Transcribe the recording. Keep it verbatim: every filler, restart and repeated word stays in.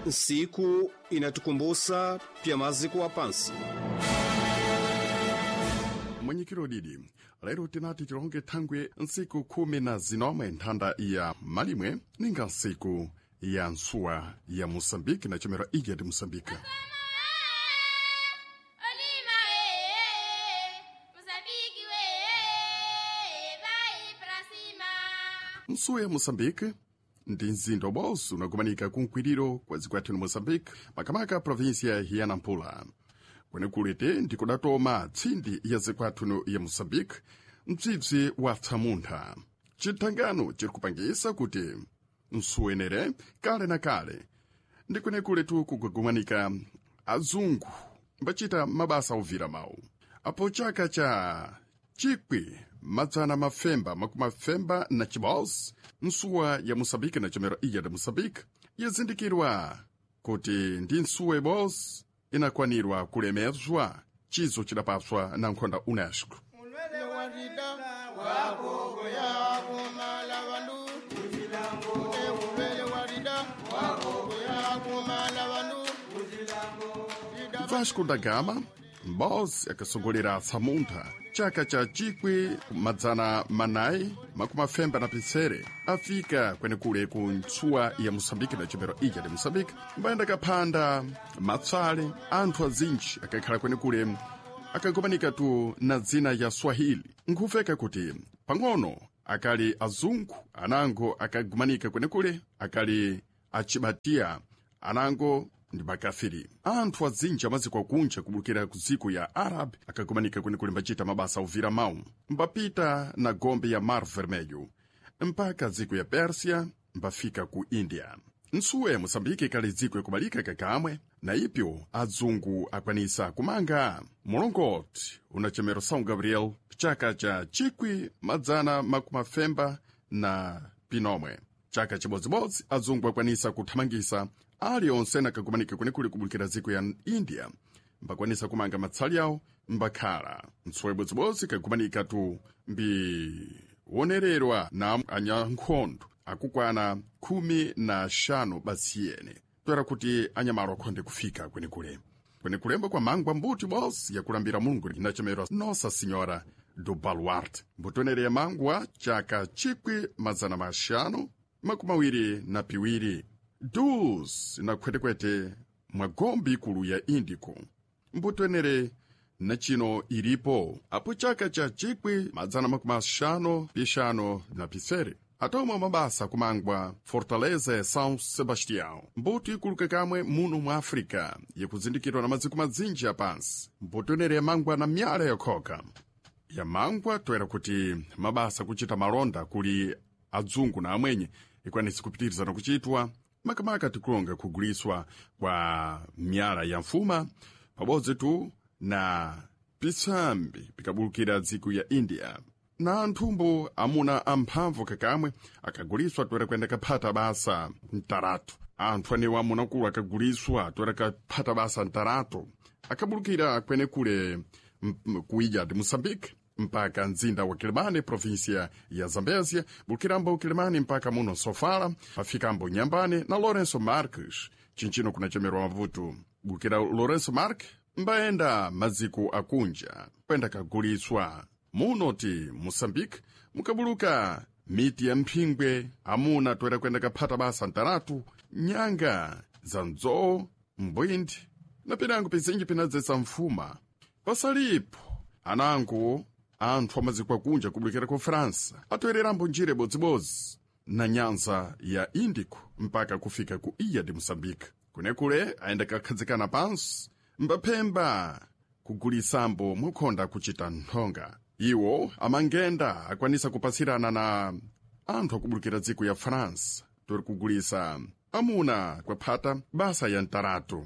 Nsiku inatukumbusa pya maziko wa pansi. Mwenyekiro didi lero tinati tilonge thangwe ntsiku khumi na zinomwe nthanda ya malimwe ninga ntsiku ya ntsuwa ya moçambique na chomera ilha de Moçambique. Olima Moçambique vai pra cima. Ntsuwa ya Moçambique ndi mzinda ubonso unakumanika kunkwiriro kwa dziko yathu ni Moçambique, makamaka província ya Nampula. Kwenekulete ndikudatoma tsindi ya dziko yathu ya Moçambique mtsitsi wa tsamuntha. Chithangano chiri kupangisa kuti nsuwenere kale na kale ndi kwenekuletu kugugumanika azungu mbachita mabasa ovira mawu. Apo chaka cha chikwi madzana mafemba makumafemba na chibos nsuwa ya Moçambique na chomero ilha de Moçambique yazindikirwa kuti ndi nsuwa ibos inakwanirwa kulemezwa chizo chidapaswa na nkhonda UNESCO. Mulwele wa rida wagogo yakumala bandu Ule mulwele wa rida wagogo yakumala bandu Rida Vasco da Gama Mbos akasogolera tsamuntha chaka cha chikwi madzana manayi makumafemba na pitsere afika kwenekule ku ntsuwa ya Moçambique na chomero ilha de Moçambique mbayenda kaphanda matsale anthu azinji akakhala kwenekule akakumanika tu na dzina ya Swahili nkhufeka kuti pang'ono akali azungu anango akagumanika kwenekule akali achibatiya anango ndi makafiri. Anthu azinji amaziko akunja kubulukira ku dziko ya Arab akagumanika kwenekule mbachita mabasa ovira mawu mbapita na gombe ya Mar Vermelho mpaka dziko ya Persia mbafika ku India. Ntsuwa ya Moçambique ikali dziko yakubalika kakamwe na ipyo adzungu akwanisa kumanga mulongoti unachemero São Gabriel chaka cha chikwi madzana makumafemba na pinomwe. Chaka chibodzibodzi adzungu akwanisa kuthamangisa alionse nakakumanika kwenekule kubulukira dziko ya India mbakwanisa kumanga matsali awo mbakhala. Ntsuwa ibodzibodzi kakumanika tu mbiwonererwa na anyankhondo akukwana khumi na xanu basi yene toera kuti anyamalo akhonde kufika kwenekule. Kwenekulemba kwa mangwa mbuti bosi yakulambira Mulungu inachemerwa Nossa Senhora do Baluarte. Mbutonere ya mangwa chaka chikwi mazana maxanu makumi awiri na piwiri dus na khwetekwete mwa gombe ikulu ya Índico. Mbutonere na chino ilipo apo chaka cha chikwi madzana makumi axanu pixanu na pisere atomwe mabasa kumangwa Fortaleza ya São Sebastião, mbuto ikuluka kamwe muno mwa África yakuzindikirwa na maziko madzinji apansi. Mbuto inere yamangwa na myala yakhoka yamangwa toera kuti mabasa kuchita malonda kuli adzungu na amwenye ikwanisi kupitirizana kuchitwa makamaka tikulonga kuguliswa kwa myala ya mfuma pabodzi tu na pitsambi pikabulukira dziko ya India na anthumbo amuna amphamvu kakamwe akaguliswa toera kuyenda kaphata basa mtaratu. Anthu anewo amuna kulu akaguliswa toera kaphata basa mtaratu akabulukira kwenekule ku ilha de Moçambique mpaka mzinda wa Quelimane província ya Zambésia bulukirambo Quelimane mpaka muno Sofala pafikambo Nyambane na Lourenço Marques chinchino kunachemerwa Maputo bulukira Lourenço Marques mbayenda maziko akunja kwenda kaguliswa muno ti Moçambique mukabuluka miti ya mphingwe amuna toera kwenda kaphata basa ntaratu nyanga za ndzoo mbwindi na pinango pizinji pinadzetsa mfuma pasalipo anango anthu amaziko akunja kubulukira ku França atoererambo njira ibodzibodzi na nyanza ya Índico mpaka kufika ku ilha de Moçambique. Kunekule ayenda kakhadzikana pansi mbaphemba kugulisambo mwakhonda kuchita nthonga. Iwo amangenda akwanisa kupasirana na anthu akubulukira dziko ya France tori kugulisa amuna kwaphata basa ya ntaratu.